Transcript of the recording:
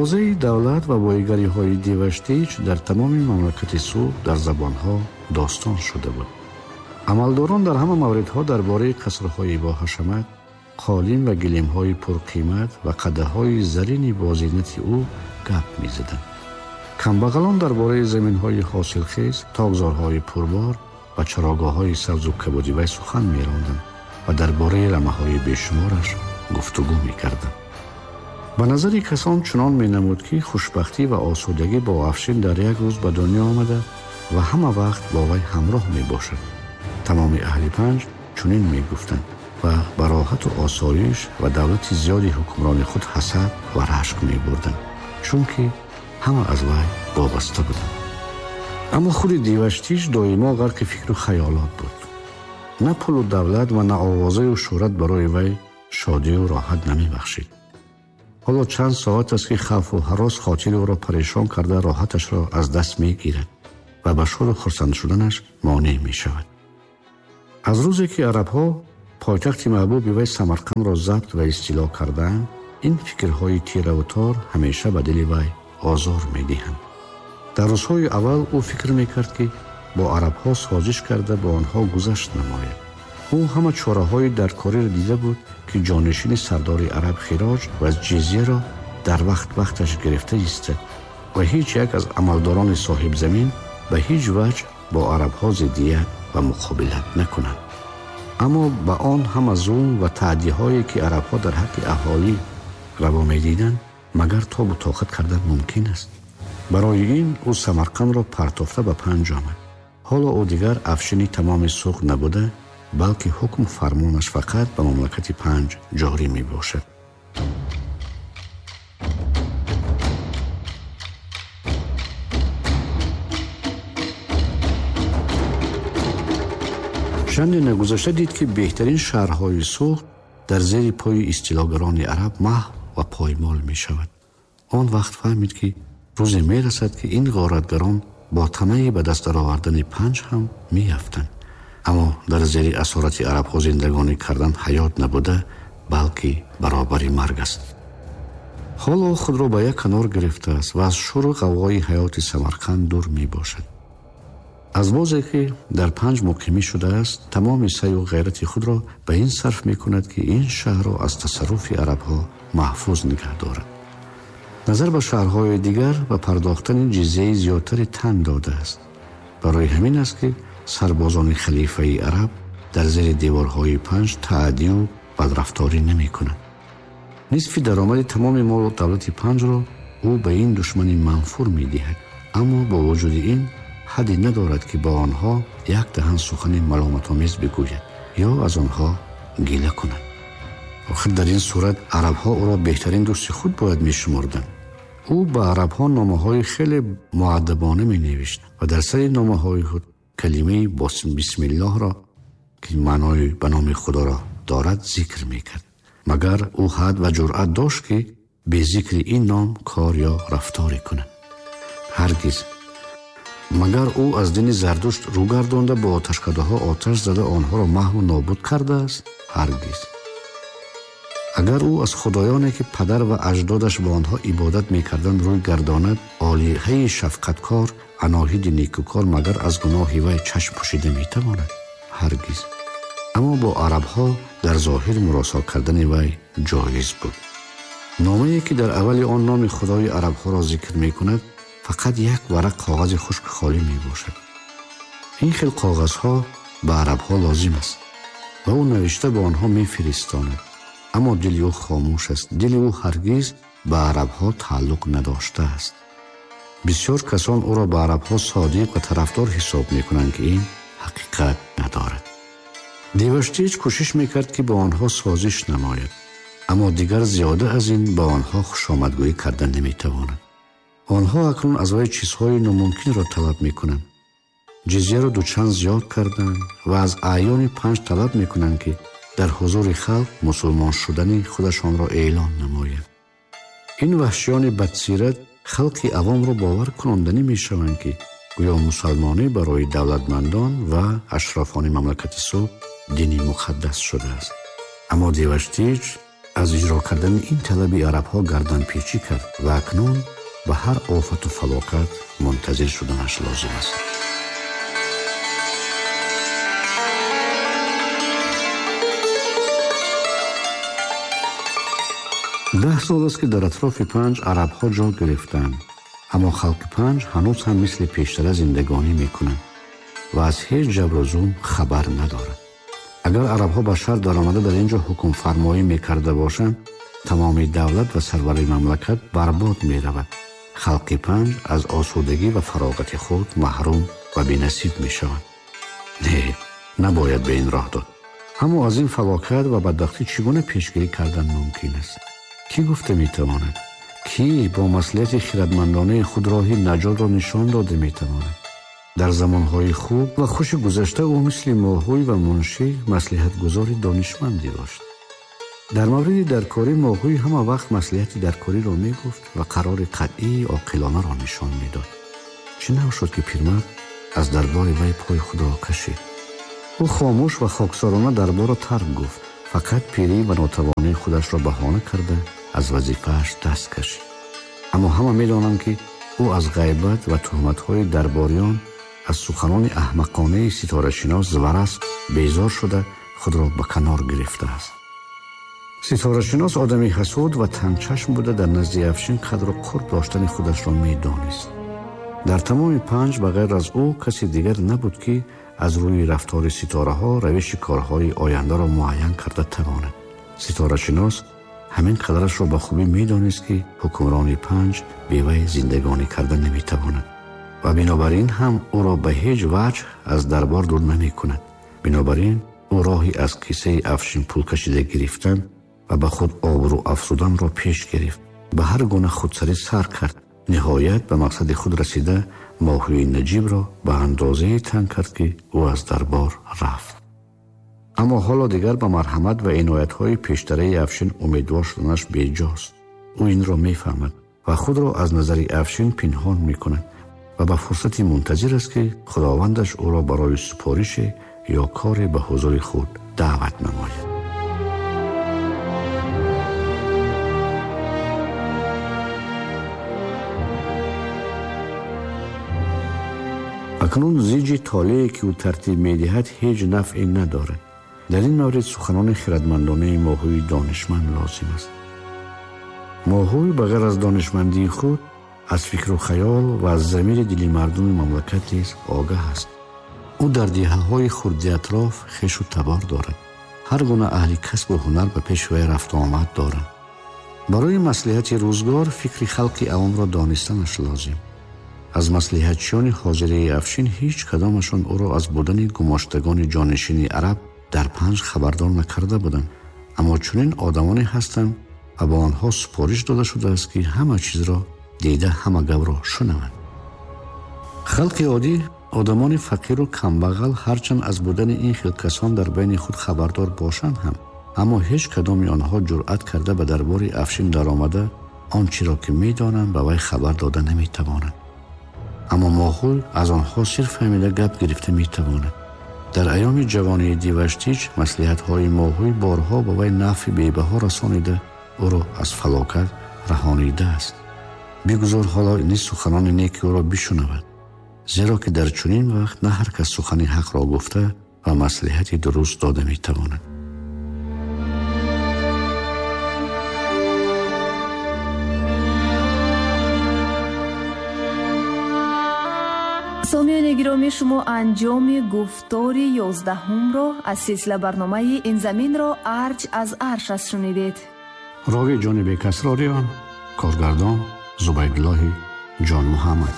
Овозаи давлат ва боигариҳои Деваштич дар тамоми мамлакати Суғд дар забонҳо достон шуда буд. Амалдорон дар ҳама мавридҳо дар бораи қасрҳои боҳашамат, қолин ва гилемҳои пурқимат ва қадаҳҳои зарини бозинати ӯ гап мезаданд. Камбағалон дар бораи заминҳои ҳосилхез, токзорҳои пурбор ва чарогоҳҳои сабзу кабуди вай сухан меронданд ва дар бораи рамаҳои бешумораш гуфтугӯ мекарданд. Ба назари касон чунон менамуд, ки хушбахтӣ ва осудагӣ бо Афшин дар як рӯз ба дунё омада ва ҳама вақт бо вай ҳамроҳ мебошад. Тамоми аҳли Панҷ чунин мегуфтанд ва ба роҳату осоиш ва давлати зиёди ҳукмрони худ ҳасад ва рашк мебурданд, чунки ҳама аз вай вобаста буданд. Аммо худи Деваштич доимо ғарқи фикру хаёлот буд. На пулу давлат ва на овозаю шӯҳрат барои вай шодию роҳат намебахшид. Ҳоло чанд соат аст, ки хавфу ҳарос хотири ӯро парешон карда роҳаташро аз даст мегирад ва ба шоду хурсанд шуданаш монеъ мешавад. Аз рӯзе ки арабҳо пойтахти маҳбуби вай Самарқандро забт ва истило кардаанд, ин фикрҳои тираву тор ҳамеша ба дили вай озор медиҳанд. Дар рӯзҳои аввал ӯ фикр мекард, ки бо арабҳо созиш карда ба онҳо гузашт намояд. Ӯ ҳама чораҳои даркориро дида буд, ки ҷонишини сардори араб хироҷ ва ҷизияро дар вақт вақташ гирифта истад ва ҳеҷ як аз амалдорони соҳибзамин ба ҳеҷ ваҷҳ бо арабҳо зиддият ва муқобилат накунанд. Аммо ба он ҳама зулм ва таъдиҳое, ки арабҳо дар ҳаққи аҳолӣ раво медиданд, магар тобу тоқат кардан мумкин аст? Барои ин ӯ Самарқандро партофта ба Панҷ омад. Ҳоло ӯ дигар афшини тамоми Суғд набуда, балки ҳукму фармонаш фақат ба мамлакати Панҷ ҷорӣ мебошад. Чанде нагузашта дид, ки беҳтарин шаҳрҳои Суғд дар зери пои истилогарони араб маҳв ва поймол мешавад. Он вақт фаҳмид, ки рӯзе мерасад, ки ин ғоратгарон бо тамаи ба даст даровардани Панҷ ҳам меафтанд. Аммо дар зери асорати арабҳо зиндагонӣ кардан ҳаёт набуда, балки баробари марг аст. Ҳоло худро ба як канор гирифтааст ва аз шуру ғавғои ҳаёти Самарқанд дур мебошад. Аз бозе ки дар Панҷ муқимӣ шудааст, тамоми саъю ғайрати худро ба ин сарф мекунад, ки ин шаҳрро аз тасарруфи арабҳо маҳфуз нигаҳ дорад. Назар ба шаҳрҳои дигар ба пардохтани ҷизияи зиёдтари тан додааст. Барои ҳамин аст, ки сарбозони халифаи араб дар зери деворҳои Панҷ таъдию бадрафторӣ намекунанд. Нисфи даромади тамоми молу давлати Панҷро ӯ ба ин душмани манфур медиҳад, аммо бо вуҷуди ин ҳадде надорад, ки бо онҳо як даҳан сухани маломатомез бигӯяд ё аз онҳо гила кунад. Охир дар ин сурат арабҳо ӯро беҳтарин дӯсти худ бояд мешумурданд. Ӯ ба арабҳо номаҳои хеле муаддабона менавишт ва дар сари номаҳои худ калимаи бисмиллоҳро, ки маънои ба номи Худоро дорад, зикр мекард. Магар ӯ ҳад ва ҷуръат дошт, ки бе зикри ин ном кор ё рафторе кунад? Ҳаргиз. Магар ӯ аз дини Зардушт рӯ гардонда бо оташкадаҳо оташ зада онҳоро маҳву нобуд кардааст? Ҳаргиз. Агар ӯ аз худоёне, ки падар ва аҷдодаш ба онҳо ибодат мекарданд, рӯй гардонад, олиҳаи шафқаткор, аноҳиди некукор магар аз гуноҳи вай чашм пӯшида метавонад? Ҳаргиз. Аммо бо арабҳо дар зоҳир муросо кардани вай ҷоиз буд. Номае, ки дар аввали он номи худои арабҳоро зикр мекунад, фақат як варақ коғази хушк холӣ мебошад. Ин хел коғазҳо ба арабҳо лозим аст ва ӯ навишта ба онҳо мефиристонад. Аммо дили ӯ хомӯш аст. Дили ӯ ҳаргиз ба арабҳо тааллуқ надоштааст. Бисёр касон ӯро ба арабҳо содиқ ва тарафдор ҳисоб мекунанд, ки ин ҳақиқат надорад. Деваштич кӯшиш мекард, ки бо онҳо созиш намояд, аммо дигар зиёда аз ин ба онҳо хушомадгӯӣ карда наметавонад. Онҳо акнун аз вай чизҳои номумкинро талаб мекунанд. Ҷизияро дучанд зиёд карданд ва аз аъёни Панҷ талаб мекунанд, ки дар ҳузури халқ мусулмон шудани худашонро эълон намоянд. Ин ваҳшиёни бадсират халқи авомро бовар кунонданӣ мешаванд, ки гӯё мусалмонӣ барои давлатмандон ва ашрофони мамлакати Суғд дини муқаддас шудааст. Аммо Деваштич Аз иҷро кардани ин талаби арабҳо гарданпечӣ кард ва акнун ба ҳар офату фалокат мунтазир шуданаш лозим аст. 10 сол аст, ки дар атрофи Панҷ арабҳо ҷо гирифтаанд, аммо халқи Панҷ ҳанӯз ҳам мисли пештара зиндагонӣ мекунанд ва аз ҳеҷ ҷабру зулм хабар надоранд. Агар арабҳо ба шаҳр даромада дар ин ҷо ҳукмфармоӣ мекарда бошанд, тамоми давлат ва сарвари мамлакат барбод меравад. Халқи Панҷ аз осудагӣ ва фароғати худ маҳрум ва бенасиб мешаванд. Не, набояд ба ин роҳ дод. Аммо аз ин фалокат ва бадбахтӣ чӣ гуна пешгирӣ кардан мумкин аст? Кӣ гуфта метавонад? Кӣ бо маслиҳати хирадмандонаи худ роҳи наҷотро нишон дода метавонад? Дар замонҳои хуб ва хуши гузашта ӯ мисли моҳӯй ва муншӣ маслиҳатгузори донишмандӣ дошт. Дар мавриди даркорӣ моҳӯй ҳама вақт маслиҳати даркориро мегуфт ва қарори қатъии оқилонаро нишон медод. Чӣ нав шуд, ки пирмард аз дарбори вай пои худро кашид? Ӯ хомӯш ва хоксорона дарборро тарк гуфт, фақат пирӣ ва нотавонии худашро баҳона карда аз вазифааш даст кашид. Аммо ҳама медонанд, ки ӯ аз ғайбат ва туҳматҳои дарбориён, аз суханони аҳмақонаи ситорашинос Зварас безор шуда худро ба канор гирифтааст. Ситорашинос одами ҳасуд ва тангчашм буда, дар назди Афшин қадру қурб доштани худашро медонист. Дар тамоми Панҷ ба ғайр аз ӯ каси дигар набуд, ки аз рӯи рафтори ситораҳо равиши корҳои ояндаро муайян карда тавонад. Ситорашинос ҳамин қадарашро ба хубӣ медонист, ки ҳукмрони Панҷ бевай зиндагонӣ карда наметавонад ва бинобар ин ҳам ӯро ба ҳеҷ ваҷҳ аз дарбор дур намекунад. Бинобар ин ӯ роҳи аз кисаи Афшин пул кашида гирифтан ва ба худ обрӯ афзуданро пеш гирифт. Ба ҳар гуна худсарӣ сар кард. Ниҳоят ба мақсади худ расида моҳӯи наҷибро ба андозае танг кард, ки ӯ аз дарбор рафт. Аммо ҳоло дигар ба марҳамат ва иноятҳои пештараи Афшин умедвор шуданаш беҷост. Ӯ инро мефаҳмад ва худро аз назари Афшин пинҳон мекунад ва ба фурсати мунтазир аст, ки худовандаш ӯро барои супорише ё коре ба ҳузури худ даъват намояд. Акнун зиҷи толее, ки ӯ тартиб медиҳад, ҳеҷ нафъе надорад. Дар ин маврид суханони хирадмандонаи моҳӯи донишманд лозим аст. Моҳӯй ба ғайр аз донишмандии худ аз фикру хаёл ва аз замири дили мардуми мамлакат низ огаҳ аст. Ӯ дар деҳаҳои хурди атроф хешу табор дорад. Ҳар гуна аҳли касбу ҳунар ба пеши вай рафту омад доранд. Барои маслиҳати рӯзгор фикри халқи авомро донистанаш лозим. Аз маслиҳатчиёни ҳозираи Афшин ҳеҷ кадомашон ӯро аз будани гумоштагони ҷонишини араб дар Панҷ хабардор накарда буданд. Аммо чунин одамоне ҳастанд ва ба онҳо супориш дода шудааст, ки ҳама чизро дида, ҳама гапро шунаванд. Халқи оддӣ, одамони фақиру камбағал, ҳарчанд аз будани ин хел касон дар байни худ хабардор бошанд ҳам, аммо ҳеҷ кадоми онҳо ҷуръат карда ба дарбори Афшин даромада он чиро, ки медонанд, ба вай хабар дода наметавонанд. Аммо моҳӯй аз онҳо сир фаҳмида гап гирифта метавонад. Дар айёми ҷавонии Диваштич маслиҳатҳои моҳӯй борҳо ба вай нафъи бебаҳо расонида, ӯро аз фалокат раҳонидааст. Бигузор ҳоло низ суханони неки ӯро бишунавад, зеро ки дар чунин вақт на ҳар кас сухани ҳақро гуфта ва маслиҳати дуруст дода метавонад. Сомиёни гиромӣ, шумо анҷоми гуфтори 11-ро аз силсила барномаи «Ин заминро арҷ аз арш аст» шунидед. Рови Ҷонибек Асрориён, коргардон Зубайдуллоҳи Ҷонмуҳаммад.